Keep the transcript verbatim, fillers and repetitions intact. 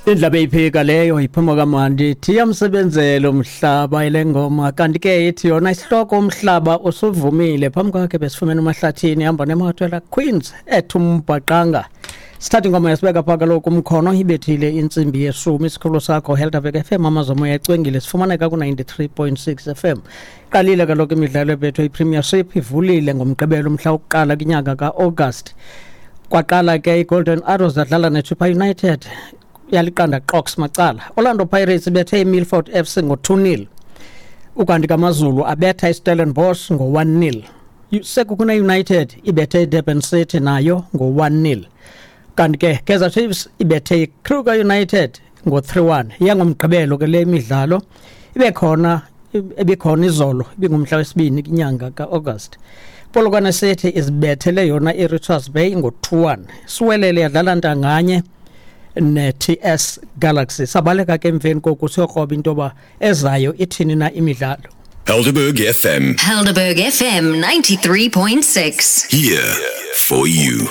Indlebe iphika leyo iphuma kamandi iyamsebenzela umhlaba ile ngoma. Kanti ke ithi yona isihloko "Umhlaba Usuvumile". Phambi kwakhe besifumene uMahlathini ihamba neMathwela Queens ethi "Umbhaqanga". Sithatha ingoma yasibeka phaa kaloku umkhono, ibethile intsimbi yeshumi. Isikhululo sakho Helderberg F M, amazomoya ecwengile, sifumaneka ku-ninety-three point six F M. Qalile kaloku imidlalo ebethwe iPremiership, ivulile ngoMgqibelo umhla wokuqala kwinyanga ka-August. Kwaqala ke iGolden Arrows zadlala neChippa United, yaliqanda qox macala. Orlando Pirates ibethe iMilford F C ngo-two nil, ukanti kaMazulu abetha iStellenbosch ngo-one nil. Sekhukhune United ibethe iDurban City nayo ngo-one nil, kanti ke Kaizer Chiefs ibethe iKruger United ngo-three one. Yangomgqibelo ke le midlalo ibe khona, ebikhona izolo ibingumhla wesibini kwinyanga ka-August. Polokwane City izibethele yona iRichards Bay ngo-two one. Siwelele yadlala ntanganye ne-T S Galaxy. Sabaleka ke emveni koku siyokroba into yoba ezayo ithini na imidlalo. Helderberg F M. Helderberg F M ninety-three point six. Here for you.